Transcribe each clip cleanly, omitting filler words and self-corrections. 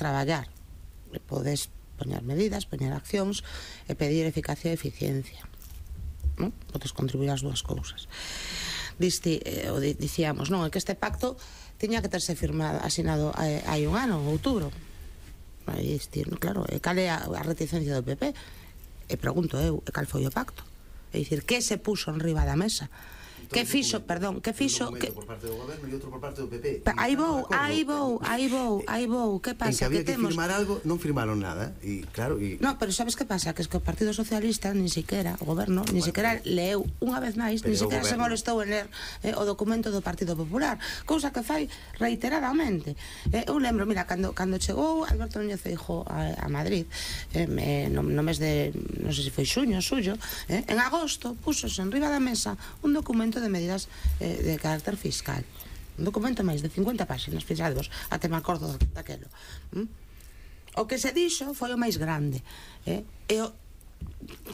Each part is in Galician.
traballar, podes poñer medidas, poñer accións e pedir eficacia e eficiencia, non? Podes contribuir as dúas cousas. Dicíamos, non, é que este pacto tiña que terse asinado hai un ano, en outubro. Claro, e cal é a reticencia do PP? E pregunto eu, e cal foi o pacto? É dicir, que se puso en riba da mesa? Que fixo, perdón, que fixo... Un documento por parte do goberno e outro por parte do PP. Aí vou, que pasa? En que había que firmar algo, non firmaron nada. E claro, no, pero sabes que pasa? Que es que o Partido Socialista, nin siquiera, o goberno, nin siquiera leeu unha vez máis, nin siquiera se molestou en ler o documento do Partido Popular, cousa que fai reiteradamente. Eu lembro, mira, cando chegou Alberto Núñez Feijóo a Madrid, no mes de, non sei se foi xuño, suyo, en agosto, púxose en riba da mesa un documento de medidas de carácter fiscal, un documento máis de 50 páxinas, fixadvos, até me acordo daquelo. O que se dixo foi o máis grande, e o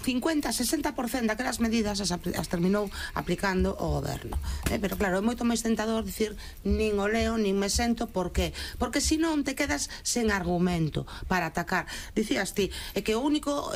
50-60% daquelas medidas as terminou aplicando o goberno, pero claro, é moito máis tentador dicir nin o leo, nin me sento. Por qué? Porque senón te quedas sen argumento para atacar. Dicías ti, é que o único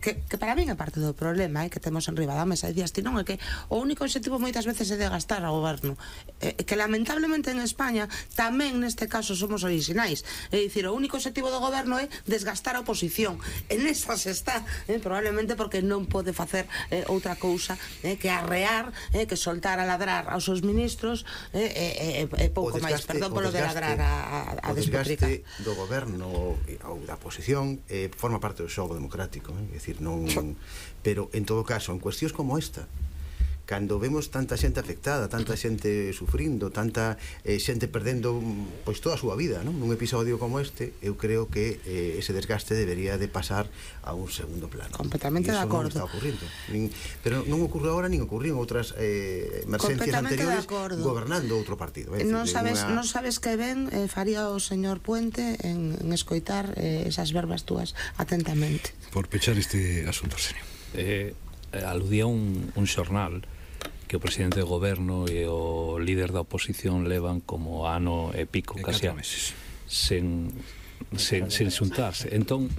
que para min é parte do problema que temos en riba da mesa, dicías ti, non, é que o único objetivo moitas veces é de gastar ao goberno, que lamentablemente en España tamén neste caso somos orixinais, é dicir, o único objetivo do goberno é desgastar a oposición, en esas está, probablemente porque non pode facer outra cousa que arrear, que soltar a ladrar aos seus ministros e pouco máis, perdón polo de ladrar a despotricar. O desgaste do goberno ou da oposición forma parte do xogo democrático, é dicir, non... Pero en todo caso, en cuestións como esta, cando vemos tanta xente afectada, tanta xente sufrindo, tanta xente perdendo pois toda a súa vida, non? Nun episodio como este, eu creo que ese desgaste debería de pasar a un segundo plano. Completamente de acordo. Non está ocurrindo. Pero non ocurre agora, nin ocurriu en outras emergencias anteriores gobernando outro partido. Non sabes que ben faría o señor Puente en escoitar esas verbas túas atentamente. Por pechar este asunto, señor. Aludía un xornal que o presidente do goberno e o líder da oposición levan como ano e pico, casi meses, sen xuntarse. Entón,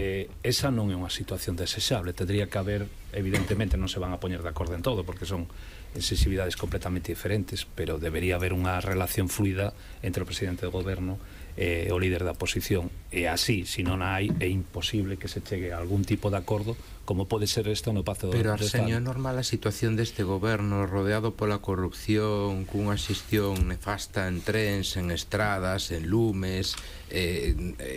esa non é unha situación desexable. Tendría que haber, evidentemente non se van a poñer de acordo en todo, porque son sensibilidades completamente diferentes, pero debería haber unha relación fluida entre o presidente do goberno e o líder da oposición. E así, se non hai, é imposible que se chegue a algún tipo de acordo, como pode ser isto no Pacto do Estado. Pero, Arsenio, é normal a situación deste goberno rodeado pola corrupción, cunha xestión nefasta en trens, en estradas, en lumes,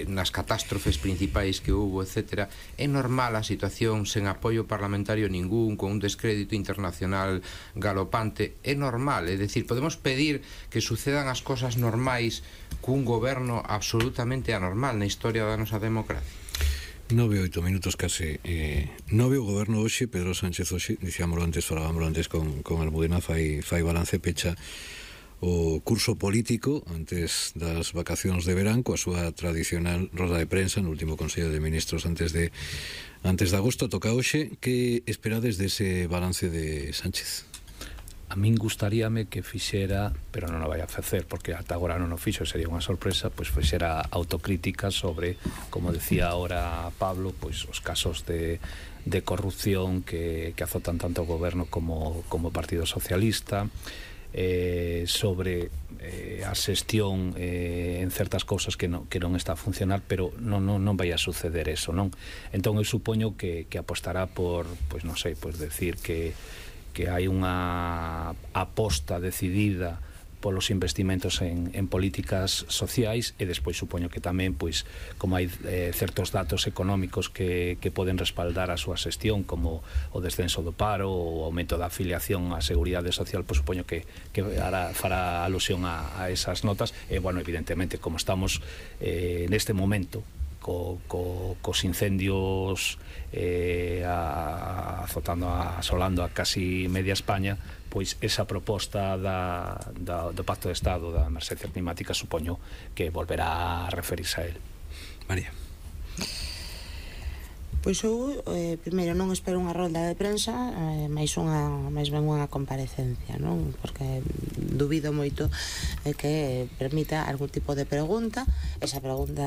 nas catástrofes principais que hubo, etc. É normal a situación sen apoio parlamentario ningún, con un descrédito internacional galopante. É normal, é dicir, podemos pedir que sucedan as cosas normais cun goberno absolutamente anormal na historia da nosa democracia. 9-8 minutos case. Nove o goberno hoxe, Pedro Sánchez hoxe, dicíamoslo antes, falábamoslo antes con Almudena, fai balance, pecha o curso político antes das vacacións de verán coa súa tradicional roda de prensa no último Consello de Ministros antes de agosto. Toca hoxe. Que esperades dese balance de Sánchez? A min gustaríame que fixera, pero non o vai a facer porque ata agora non o fixo, sería unha sorpresa, pois fixera autocrítica sobre, como decía ahora Pablo, pois os casos de corrupción que azotan tanto o goberno como o Partido Socialista, sobre a xestión en certas cousas que non está a funcionar, pero non vai a suceder eso, non? Entón eu supoño que apostará por, pois non sei, pois decir que hai unha aposta decidida polos investimentos en políticas sociais, e despois supoño que tamén, pois, como hai certos datos económicos que poden respaldar a súa xestión, como o descenso do paro, o aumento da afiliación á Seguridade Social, pois supoño que fará alusión a esas notas. E, bueno, evidentemente, como estamos neste momento cos incendios asolando a casi media España, pois esa proposta do Pacto de Estado da emerxencia climática supoño que volverá a referirse a él. María. Pois eu, primeiro, non espero unha rolda de prensa, máis ben unha comparecencia, non? Porque dubido moito que permita algún tipo de pregunta. Esa pregunta